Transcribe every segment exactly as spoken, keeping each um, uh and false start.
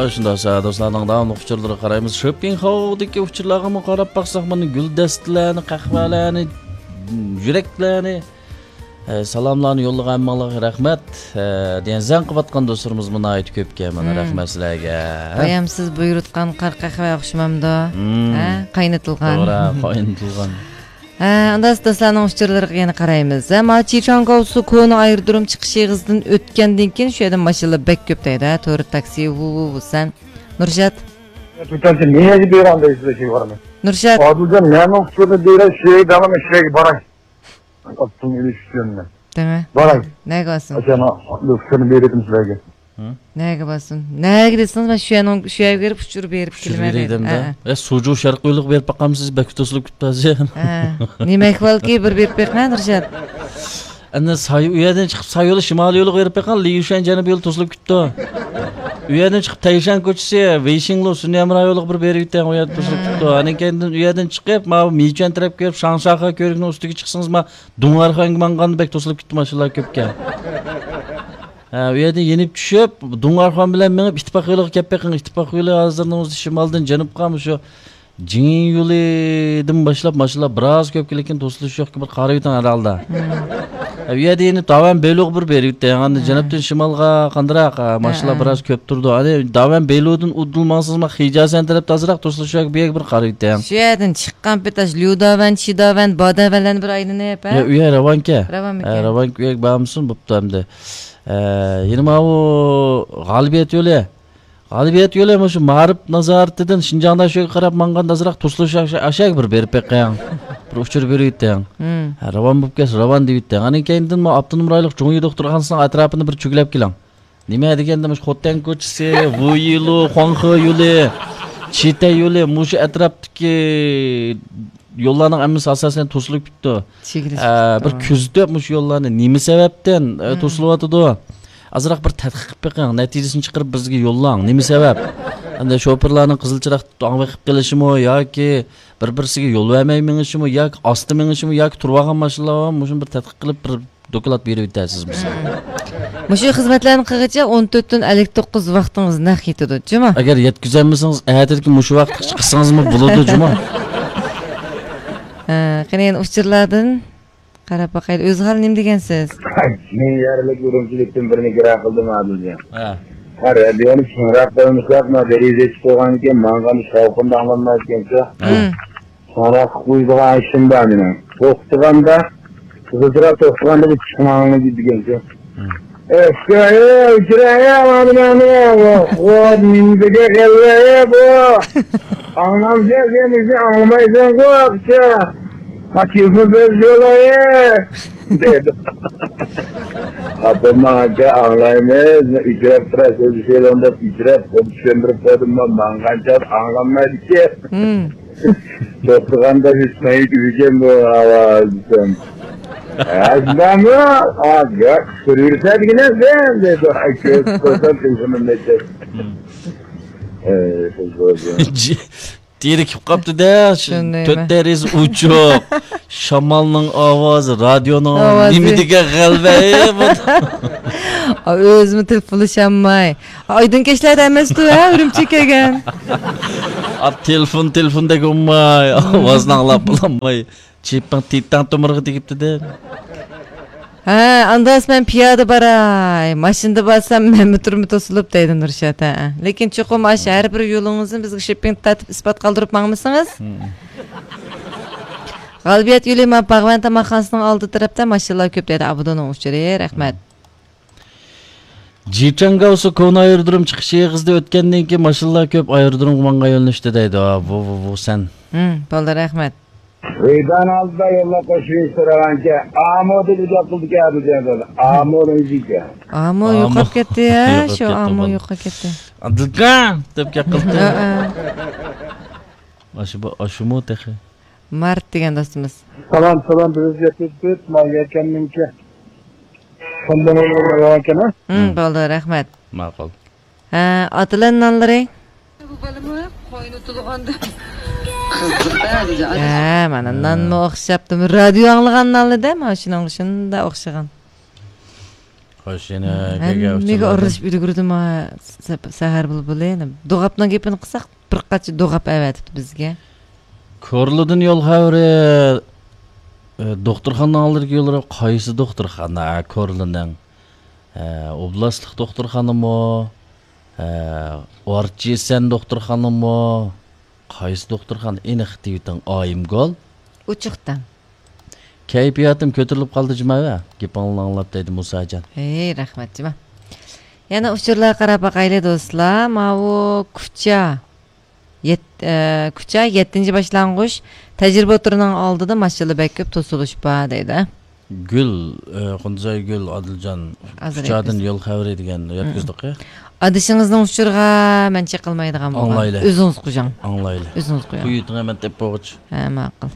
ئاشۇنداق سايە دوستلارنىڭ داۋاملىق ئۇچۇرلىرىغا قارايمىز. شېپىڭخاۋدىكى ئۇچۇرلارغىمۇ قاراپ باقساق، مانا گۈلدەستىلەرنى، قەھۋەلەرنى، يۈرەكلەرنى، ئە، سالاملارنى يوللىغان ھەممىڭلارغا رەھمەت. ئە، دېگەن زەڭ قىلىۋاتقان دوستلىرىمىز ناھايىتى كۆپكەن، مانا، مم، رەھمەت سىلەرگە. بايام سىز بۇيرۇتقان قارا قەھۋە ئوخشىمامدۇ؟ مم. ھە؟ قاينىتىلغان. توغرا، قاينىتىلغان. ھە، ئانداق دوستلارنىڭ ئۇچۇرلىرىغا يەنە قارايمىز. ھە، ما چىچاڭگاۋسۇ كونا ئايرودروم چىقىش ئېغىزىدىن ئۆتكەندىن كېيىن شۇ يەردە ماشىنىلار بەك كۆپ دەيدۇ، ھە، تور تاكسى، ۋۇ، ۋۇ، ۋۇ، سەن. نۇرشات. Tutancha nega bergan deysiz, şey var mı? نۇرشات. ئادىلجان، مەنمۇ ئۇچۇرنى بېرەي، شۇ يەرگە دەڭلىمە، شۇ يەرگە باراي. ئاپتوموبىل ئۈچ يۈز يۈەننى. دېمە. باراي. نەگە بارسۇن؟ ئاچانا، ئۇچۇرنى بېرىۋېتىم سىلەرگە. ھە؟ نەگە بارسۇن؟ نەگە دېسىڭىز، مەن شۇ يەرنىڭ، شۇ يەرگە بېرىپ ئۇچۇر بېرىپ ئۇچۇر كېلىمەن بېرەي دەيدۇ. دەمدە. ھە، ھە. ئە، سۇجۇ شەرقىي يولىغا بېرىپ باقامسىز، بەك توسۇلۇپ كېتىپتۇ ھازىر. ھە. نېمە ئەھۋالكى، بىر بېرىپ بېقىڭە، نۇرشات. ئەنە ساي-، ئۇ يەردىن چىقىپ ساي يولى، شىمالىي يولىغا بېرىپ بېقىڭ، لىيۇشەن جەنۇبىي يولى توسۇلۇپ كېتىپتۇ. ئۇ يەردىن چىقىپ تەيشەن كوچىسى، ۋېيشىڭلۇ، سۈنئەي ھەمراھ يولىغا بىر بېرىۋېتىڭ، ئۇ يەردە توسۇلۇپ كېتىپتۇ. ئانىڭ كەينىدىن ئۇ يەردىن چىقىپ، ماۋۇ مىچۈەن تەرەپكە بېرىپ، شاڭشاخا كۆۋرۈكنىڭ ئۈستىگە چىقسىڭىز، ما دۇڭئەرخۇەنگە ماڭغاندا بەك توسۇلۇپ كېتىپتۇ ماشىنىلار كۆپكەن. ھە، ئۇ يەردىن يېنىپ چۈشۈپ، دۇڭئەرخۇەن بىلەن مېڭىپ، ئىتتىپاق يولىغا كەپ بېقىڭ. ئىتتىپاق يولى ھازىرنىڭ ئۆزىدە شىمالدىن جەنۇبقا مۇشۇ جىڭ يولىدىن باشلاپ ماشىنىلار بىراز كۆپ، لېكىن توسۇلۇش يوقكەن، بىر قارىۋېتىڭ ھەر ھالدا. ھە، ئۇ يەردە يەنە داۋەن بېلۇغا بىر بېرىۋېتىڭ. ئاندىن جەنۇبتىن شىمالغا قاندىراق، ھە، ماشىنىلار بىراز كۆپ تۇرىدۇ. ئەنە داۋەن بېلۇدىن ئۇدۇل ماڭسىڭىز، ما خىجاسەن تەرەپتە ئازراق توسۇلۇش يوق، بۇ يەرگە بىر قارىۋېتىڭ. شۇ يەردىن چىققان پېتى ئاشۇ ليۇداۋەن، چىداۋەن، باداۋەنلەرنى بىر ئايلىنىپ، ھە؟ يا، ئۇ يەر راۋانكەن. راۋانمىكەن؟ ھە، راۋانكەن، ئۇ يەرگە بارمىسۇن، بوپتۇ ئەمدى. ئە، يەنە ماۋۇ غالىبىيەت يولى. غالىبىيەت يولى مۇشۇ مائارىپ نازارىتىدىن شىنجاڭداشۆگە قاراپ ماڭغاندا ئازراق توسۇلۇش ئاشا-، ئاشاگە بىر بېرىپ بېقىڭ. بىر ئۇچۇر بېرىۋېتىڭ. ھە، راۋان بولۇپ كەلسە راۋان دېۋېتىڭ. ئاندىن كەينىدىن مۇ ئاپتونوم رايونلۇق جۇڭيى دوختۇرخانىسىنىڭ ئەتراپىنى بىر چۆگىلەپ كېلىڭ. نېمە دېگەندە مۇشۇ خوتەن كوچىسى، ۋۇيىلۇ، خۇاڭخې يولى، چىتەي يولى، مۇشۇ ئەتراپتىكى يوللارنىڭ ھەممىسى ئاساسەن توسۇلۇپ كېتىپتۇ. ئە، بىر كۆزىتىپ مۇشۇ يوللارنى نېمە سەۋەبتىن، ئە، توسۇلۇۋاتىدۇ؟ ئازراق بىر تەتقىق قىلىپ بېقىڭ، نەتىجىسىنى چىقىرىپ بىزگە يوللاڭ. نېمە سەۋەب؟ ئەندى شوپۇرلارنىڭ قىزىل چىراغ ئاڭ بېقىپ قېلىشىمۇ ياكى بىر-بىرسىگە يول بەرمەي مېڭىشىمۇ ياكى ئاستا مېڭىشىمۇ ياكى تۇرۇۋالغان ماشىنىلار بارمۇ؟ مۇشۇنى بىر تەتقىق قىلىپ بىر دوكلات بېرىۋېتەرسىز بىزگە. مۇشۇ خىزمەتلەرنى قىلغىچە ئون تۆتتىن ئەللىك توققۇز ۋاقتىڭىز نەق كېتىدۇ، جۇمۇ؟ ئەگەر يەتكۈزەلمىسىڭىز، ئەتىدىكى مۇشۇ ۋاقىتقىچە قىلسىڭىزمۇ بولىدۇ، جۇمۇ. ھە، قېنى يەنە ئۇچۇرلاردىن قاراپ باقايلى. ئۆزى خالا نېمە دېگەنسىز؟ يەرلىك ئۈرۈمچىلىكتىن بىرنى كىرا قىلدىم، ئادىلجان. ھە. ھە، رادىيونى چىڭراق قويمىساق، ما دېرىزە ئېچىپ قويغانىكەن، ماڭغان شاۋقۇندا ئاڭلانمايدىكەنچۇ. ھە. شۇڭا قويىدىغان ئىشىم بار مېنىڭ. توختىغاندا، قىزىلچىراغ توختىغاندا بىر چىقماڭلار دېگەنچۇ. ئەسكەي، ئۆچۈرەي، مانا، مانا، نېمىدىكى غەلۋە بۇ؟ ئاڭلامسەن سەن بىزنى، ئاڭلىمايسەنغۇ، ئاقچا. ما تېلېفون بىلەن سۆزلەي، دېدى. ئاپام، ئاكا، ئاڭلايمىز، ئۆچۈرەپ تۇرا، سۆزلىشەيلى دەپ ئۆچۈرەپ، خۇددى چۈشەندۈرۈپ قويدۇم، ماڭغانچە ئاڭلانمايدىكەن. توختىغاندا ھېچ مەيت ئۈزگەن بۇ ئاۋاز دېسەم. ئەزبەمۇ، ئا، گەپ سۈرۈرسە دېگىنە سەن دەيدۇ. ئاي، كۆرۈپ قويسام تېلېفونۇمنى ئېچىپ. ئەي، قىز بولسۇن. جى-، تېرىكىپ قاپتۇ-دە، شۇ تۆت دېرىزە ئوچۇق. شامالنىڭ ئاۋازى، رادىيونىڭ ئاۋازى. نېمە دېگەن غەلۋە، ئەي، بۇ. ئا، ئۆزىمۇ تېلېفونلىشالماي. ئايدىڭ كەچلەردە ئەمەستۇ، ھە، ئۈرۈمچىگە كەلگەن. ئا، تېلېفون، تېلېفوندەك بولماي، ئاۋازنى ئاڭلاپ بولالماي. چېپىڭ تېتەڭ تومۇرغا تېگىپتۇ-دە. ھە، ئانداس مەن پىيادە باراي. ماشىنىدا بارسام مەنمۇ تۇرما توسۇلۇپ دەيدۇ نۇرشات، ھە. لېكىن چوقۇم ئاشۇ ھەر بىر يولىڭىزنى بىزگە شېپىڭ تارتىپ ئىسپات قالدۇرۇپ ماڭمىسىڭىز. غالىبىيەت يولى ما باغۋەن تاماقخانىسىنىڭ ئالدى تەرەپتە ماشىنىلار كۆپ دەيدۇ. ئابدۇنىڭ ئۇچۇرى، رەھمەت. جىچاڭگاۋسۇ كونا ئايرودروم چىقىش ئېغىزىدا ئۆتكەندىن كېيىن ماشىنىلار كۆپ، ئايرودرومغا ماڭغان يۆنىلىشتە دەيدۇ. ۋۇ، ۋۇ، ۋۇ، سەن. ھىم، بولدى، رەھمەت. ۋىدان ئالدىدا يوللار قوشۇۋېلىش سورىغانكەن، ئامۇ دېدى گەپ قىلدىكەن، ئابىجان دېدى. ئامۇ نېمىشىكەن؟ ئامۇ ئامۇ. يوقاپ كەتتى، ھە، يوقاپ شۇ كەتتى، ئامۇ بولدى. يوقاپ كەتتى. ئابدۇكا دەپ گەپ قىلدى. ھە، ھە. ئاشۇ بۇ، ئاشۇمۇ تېخى؟ مارت دېگەن دوستىمىز. سالام، سالام، بىز يەتكۈزۈپ، ماڭا يەكەننىڭكى. شۇندىن ئايرىلمايۋاتىكەن، ھە؟ ھىم، بولدى، رەھمەت. ماقۇل. ھە، ئاتىلەن نانلىرى؟ بۇ بالىمۇ قوينى تۇلغاندا. ھە، مانا نانمۇ ئوخشاپتۇ. رادىيو ئاڭلىغان نانلىدە، مانا شۇنىڭغا شۇنداق ئوخشىغان. خوش، يەنە ھەممىگە ئارىلىشىپ ئۈلگۈردىمۇ سە-، سەھەر بۇلبۇلى؟ دوغاپنىڭ گېپىنى قىلساق، بىر قانچە دوغاپ ئەۋەتىپتۇ بىزگە. كورلىدىن يول خەۋىرى، ئە، دوختۇرخانىنىڭ ئالدىدىكى يوللار قايسى دوختۇرخانا؟ كورلىنىڭ، ئە، ئوبلاستلىق دوختۇرخانىمۇ؟ ئە، ئارتىسەن دوختۇرخانىمۇ؟ قايسى دوختۇرخانا ئېنىق دېۋىتىڭ ئايىمگۈل؟ ئوچۇقتا. كەيپىياتىم كۆتۈرۈلۈپ قالدى جۇمۇ، گېپىڭلارنى ئاڭلاپ دەيدۇ مۇساجان. ھەي، رەھمەت جۇمۇ. يەنە ئۇچۇرلارغا قاراپ باقايلى دوستلار. ماۋۇ كۇچا. يەت-، ئە، كۇچا يەتتىنچى باشلانغۇچ تەجرىبە ئوتتۇرىنىڭ ئالدىدا ماشىنىلار بەك كۆپ توسۇلۇش بار دەيدۇ. گۈل، ئە، قۇندۇزايگۈل ئادىلجان، ئازراق كۇچادىن يول خەۋىرى دېگەن يەتكۈزدۇق، ئە. ئادىشىڭىزنىڭ ئۇچۇرىغا مەن چېقىلمايدىغان بولغان. ئاڭلايلى. ئۆزىڭىز قويۇڭ. ئاڭلايلى. ئۆزىڭىز قويۇڭ. بۇ يۇتۇڭ ھەمەن دەپ بولغۇچ. ھە، ماقۇل.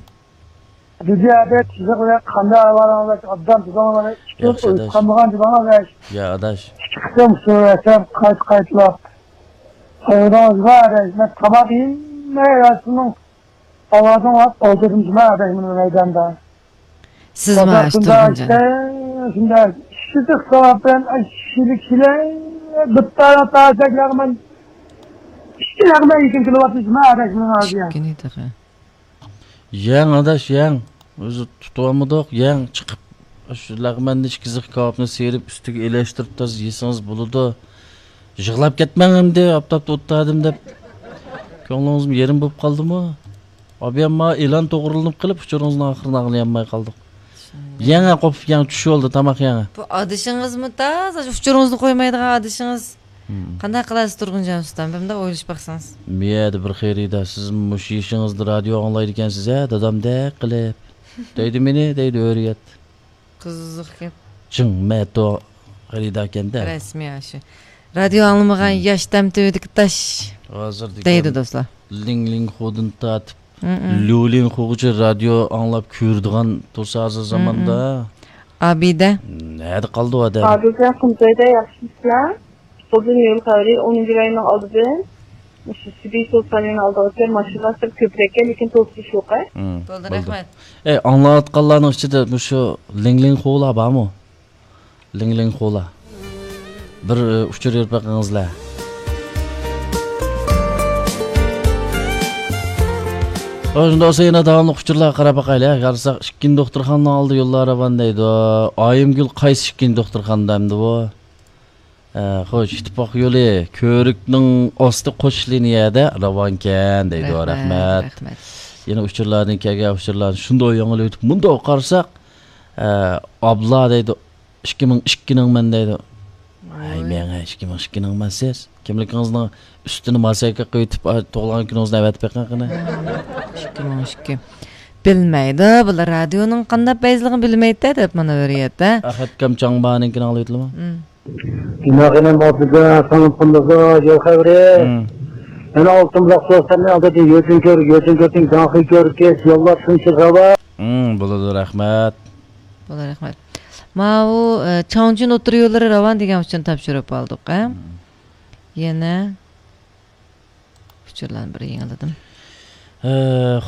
دۇنيا ئادەت سىزىق بىلەن قانداق ئەھۋالىڭىز؟ ئوبدان تۇزۇڭلار، ئىككى ياخشى، ئۆز ئاداش. قالمىغان جۇمۇ ئاداش. يا ئاداش. ئىككى قېتىم سۆزلەشسەم قايتا قايتىلاپ. ئايرىڭىزغا ئاداش، مەن تاماق يېمەي راستىنىڭ ئاۋازىڭ ئاپ ئولتۇردۇم جۇمۇ ئاداش مۇنۇ مەيداندا. سىزمۇ ئاشۇ تۇرغۇن جان. شۇنداق ئىششىدىق سەۋەبتىن ئاششىلىك كېلەي. بىتتارا تازەكلەرمەن ئىشتىلەرمەن يېكىن كېلىۋاتىدۇ جۇمۇ ئاداش مۇنۇ ھازىر. چۈشكىنى تېخى. يەڭ ئاداش، يەڭ. ئۆزى تۇتۇۋالمىدۇق، يەڭ چىقىپ. شۇ لەغمەندە ئىككى زىخ كاۋاپنى سىيرىپ، ئۈستىگە ئېلەشتۈرۈپ تازا يېسىڭىز بولىدۇ. يىغلاپ كەتمەڭ ئەمدى، ئاپتاپتا ئولتۇردۇم دەپ. كۆڭلىڭىزمۇ يېرىم بولۇپ قالدىمۇ؟ ئابىيەمما ئېلان توغرىلىنىپ قېلىپ، ئۇچۇرىڭىزنىڭ ئاخىرىنى ئاڭلىيالماي قالدۇق. يەڭ، قوپۇپ يەڭ، چۈش بولدى، تاماق يەڭ. بۇ ئادىشىڭىزمۇ تازا ئۇچۇرىڭىزنى قويمايدىغان ئادىشىڭىز. مم. قانداق قىلارسىز تۇرغۇنجان ئۇستام؟ بىر مۇنداق ئويلىشىپ باقسىڭىز. مىيەدە بىر خېرىدار، سىزمۇ مۇشۇ يېشىڭىزدا رادىيو ئاڭلايدىكەنسىز ھە، دادامدەك قىلىپ. دەيدۇ مېنى، دەيدۇ ھۆرىيەت. قىزىق گەپ. جىڭ مەتو خېرىداركەن-دە. رەسمىي ئاشۇ. رادىيو ئاڭلىمىغان ياش تەم تۈۋىدىكى تاش ھازىر دېگەن دەيدۇ دوستلار. لىڭ لىڭ خودىن تارتىپ، مم. ليۇ لىن خۇغىچە رادىيو ئاڭلاپ كۆرىدىغان تۇرسا ھازىر زاماندا. ئابىدە. نەدە قالدى ئۇ ئادەم؟ ئابىدە، قۇمسايدا ياخشىمۇسىلەر؟ سولدىن يول خەۋىرى، ئونىنچى رايوننىڭ ئالدىدىن مۇشۇ سىبىي سوسانىنىڭ ئالدىغىچە ماشىنىلار سەل كۆپرەككەن، لېكىن توسۇش يوق. مم، بولدى، بولدى. رەھمەت. ئەي، ئاڭلاۋاتقانلارنىڭ ئىچىدە مۇشۇ لىڭ لىڭ خۇلار بارمۇ؟ لىڭ لىڭ خۇلار. بىر، ئە، ئۇچۇر بېرىپ بېقىڭىزلەر. ئۇ شۇنداق بولسا يەنە داۋاملىق ئۇچۇرلارغا قاراپ باقايلى. قارىساق، ئىككىنچى دوختۇرخانىنىڭ ئالدىدا يوللار راۋان دەيدۇ. ئايىمگۈل قايسى ئىككىنچى دوختۇرخانىدا ئەمدى بۇ؟ ئە، خوش، ئىتتىپاق يولى، كۆۋرۈكنىڭ ئاستى قوش لىنىيەدە راۋانكەن دەيدۇ. رەھمەت، رەھمەت. رەھمەت. يەنە ئۇچۇرلاردىن كەلگەن ئۇچۇرلارنى شۇنداق ياڭىلىۋېتىپ، مۇنداق قارىساق، ئە، ئابلا دەيدۇ. ئىككى مىڭ ئىككىنىڭمەن دەيدۇ. ۋاي. ھەي، مېڭە ئىككى مىڭ ئىككىنىڭمەن سىز. كىملىكىڭىزنىڭ ئۈستىنى ماسايكا قىلىۋېتىپ، ئا، تۇغۇلغان كۈنىڭىزنى ئەۋەتىپ بېقىڭ قېنى. ئىككى مىڭ ئىككى. بىلمەيدۇ، بۇلار رادىيونىڭ قانداق پەيزلىكىنى بىلمەيدۇ دەپ مانا ھۆرىيەتتە. ئەخەتكەم چاڭبانىڭكىنى ئاڭلىۋېتىلىمۇ؟ مم. جۇمۇ خېنىم ئابدۇجان، سالام قىلدىغۇ، يول خەۋىرى. مم. يەنە ئالتۇن بۇلاق سوساننى ئالدىدىن يۆتۈن كۆر، يۆتۈن كۆرسەڭ جاڭخۇي كۆركەز، يوللار شۇنچە خەۋەر. مم، بولىدۇ، رەھمەت. بولىدۇ، رەھمەت. ماۋۇ، ئە، چاڭجۈن ئوتتۇرا يوللىرى راۋان دېگەن ئۇچۇرنى تاپشۇرۇپ ئالدۇق، ھە؟ مم. يەنە ئۇچۇرلارنى بىر يېڭىلىدىم. ھە،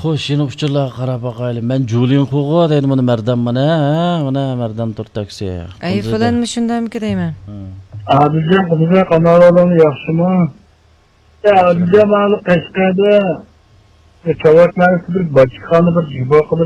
خوش، يەنە ئۇچۇرلارغا قاراپ باقايلى. مەن جۇلىڭخۇغۇ دەيدۇ، مانا مەردان مانا، ھە، مانا مەردان تۇر تاكسى. ئەي، فلان مۇشۇندامىكى دەيمەن. ھە. ئادىلجان، قىزىق، ئاناۋالىڭ ياخشىمۇ؟ يا، ئادىلجان، مانا قەشقەردە، يا، چاۋاك ناھىيەسىدە بىر باچكىخانا، بىر جىبا قىلىپ،